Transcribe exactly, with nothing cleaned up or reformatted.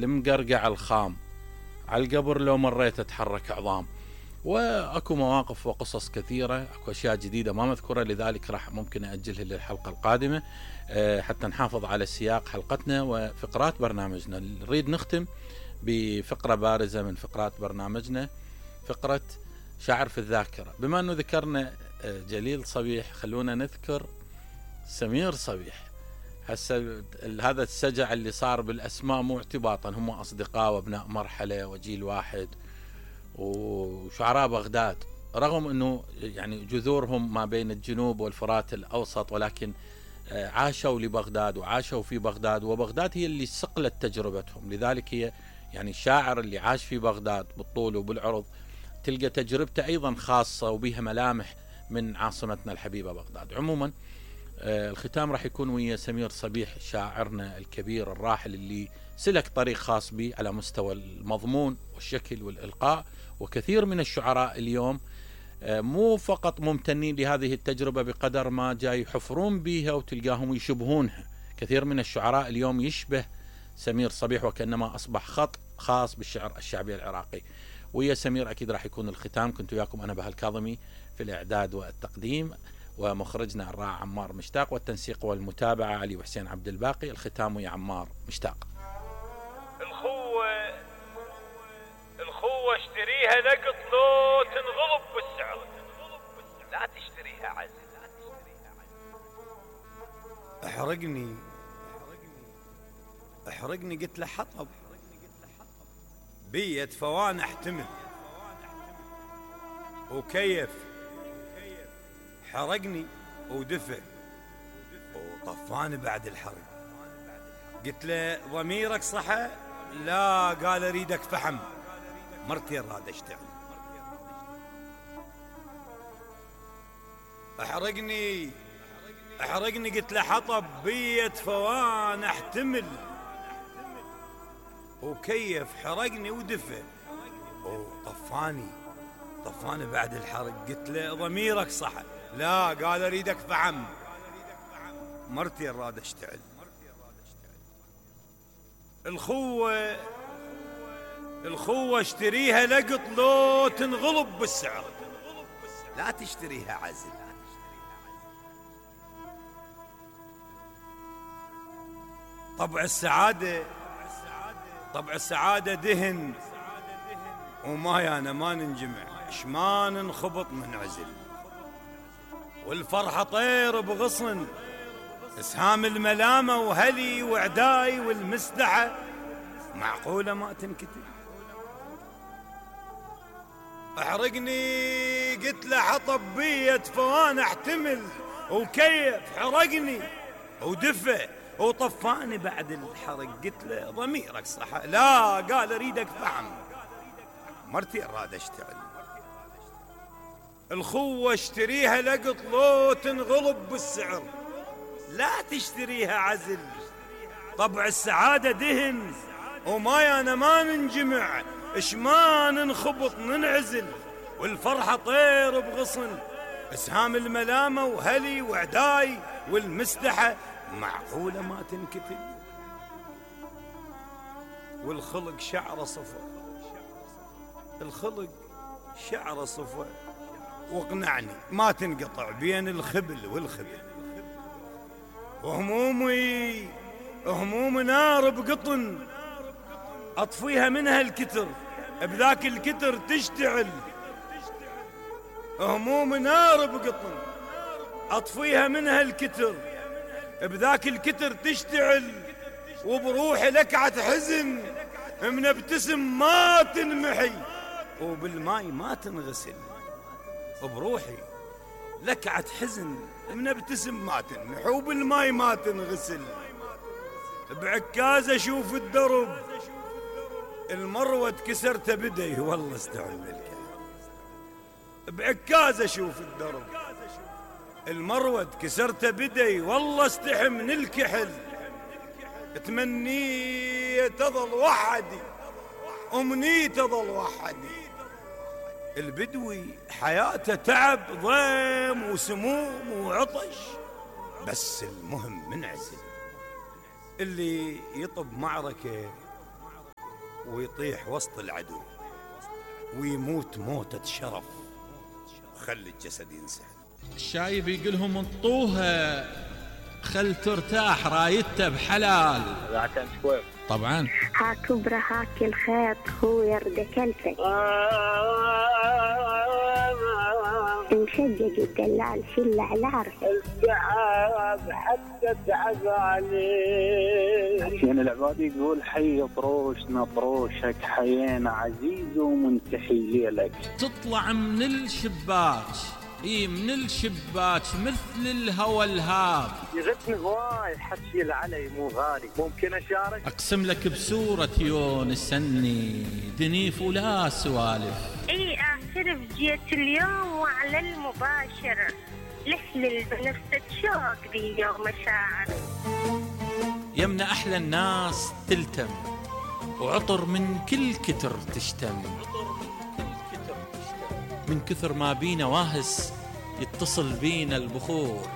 المقرقع الخام، على القبر لو مريت تحرك عظام. واكو مواقف وقصص كثيرة، اكو اشياء جديدة ما مذكورة، لذلك راح ممكن اجلها للحلقة القادمة حتى نحافظ على سياق حلقتنا وفقرات برنامجنا. نريد نختم بفقرة بارزة من فقرات برنامجنا، فقرة شاعر في الذاكرة. بما انه ذكرنا جليل صبيح، خلونا نذكر سمير صبيح. هسه هذا السجع اللي صار بالاسماء مو اعتباطا، هم اصدقاء وابناء مرحلة وجيل واحد وشعراء بغداد، رغم انه يعني جذورهم ما بين الجنوب والفرات الاوسط، ولكن عاشوا لبغداد وعاشوا في بغداد، وبغداد هي اللي صقلت تجربتهم. لذلك هي يعني الشاعر اللي عاش في بغداد بالطول وبالعرض تلقى تجربته ايضا خاصة وبها ملامح من عاصمتنا الحبيبة بغداد. عموما الختام راح يكون ويا سمير صبيح شاعرنا الكبير الراحل، اللي سلك طريق خاص به على مستوى المضمون والشكل والإلقاء. وكثير من الشعراء اليوم مو فقط ممتنين لهذه التجربة بقدر ما جاي يحفرون بها وتلقاهم يشبهونها. كثير من الشعراء اليوم يشبه سمير صبيح وكأنما أصبح خط خاص بالشعر الشعبي العراقي. ويا سمير أكيد راح يكون الختام. كنت وياكم أنا بهاء الكاظمي في الإعداد والتقديم، ومخرجنا الراعي عمار مشتاق، والتنسيق والمتابعة علي وحسين عبد الباقي. الختام يا عمار مشتاق. الخوة الخوة اشتريها نقط لو تنغلب بالسعر، لا تشتريها عزل. احرقني احرقني قلت له حطب بيت فوان احتمل وكيف حرقني ودفى وطفاني بعد الحرق. قلت له ضميرك صحى؟ لا، قال اريدك فحم، مرتي راد اشتعل. احرقني احرقني قلت له حطب بيت فوان احتمل وكيف حرقني ودفى وطفاني طفاني بعد الحرق. قلت له ضميرك صحى؟ لا، قال اريدك فحم، مرتي راد اشتعل. الخوة الخوة اشتريها لقط لو تنغلب بالسعر، لا تشتريها عزل. طبع السعادة طبع السعادة دهن وما يانا ما ننجمع، شما ننخبط من عزل. والفرحة طير بغصن، اسهام الملامة وهلي وعداي والمسدحة معقولة ما تنكتب. احرقني قلت له حطب بيت فوان احتمل وكيف حرقني ودفى وطفاني بعد الحرق. قلت له ضميرك صحى؟ لا، قال اريدك فحم، مرتي اراد اشتعل. الخوة اشتريها لقط لو تنغلب بالسعر، لا تشتريها عزل. طبع السعادة دهن وما يانا ما ننجمع، اش ما ننخبط ننعزل. والفرحة طير بغصن، اسهام الملامة وهلي وعداي والمسدحة معقولة ما تنكتب. والخلق شعر صفا الخلق شعر صفا واقنعني ما تنقطع بين الخبل والخبل. وهمومي هموم نار بقطن اطفيها منها الكتر، بذاك الكتر تشتعل. هموم نار بقطن اطفيها منها الكتر، بذاك الكتر تشتعل. وبروحي لكعة حزن منبتسم ما تنمحي وبالماي ما تنغسل. بروحي لكعة حزن منبتسم ما تنمحي وبالماي ما تنغسل. بعكاز اشوف الدرب المروة كسرت بدي والله استعمل الكلام. بعكاز اشوف الدرب المروة كسرت بدي والله استحي من الكحل. تمني تظل وحدي امني تظل وحدي. البدوي حياته تعب ضيم وسموم وعطش، بس المهم منعزل. اللي يطب معركة ويطيح وسط العدو ويموت موتة شرف وخلي الجسد ينسحب. الشايب يقولهم انطوها خل ترتاح رايته بحلال. طبعا ها كبرى هاك الخيط هو يرد كلفك مشجج الدلال شل على عرفك التعب حتى تعب عليه. حسين العبادي يقول حي طروشنا طروشك حيينا عزيز ومنتحي لك. تطلع من الشباك اي من الشباك مثل الهوى الهاب. يغثني هواي حكي العلي مو غالي، ممكن اشارك؟ اقسم لك بسورة يونس اني دنيف ولا سوالف. اي اعترف جيت اليوم وعلى المباشر لحلل بنفسك شوق ذي يوم مشاعر. يمنا احلى الناس تلتم وعطر من كل كتر تشتم، من كثر ما بينا واهس يتصل بينا البخور.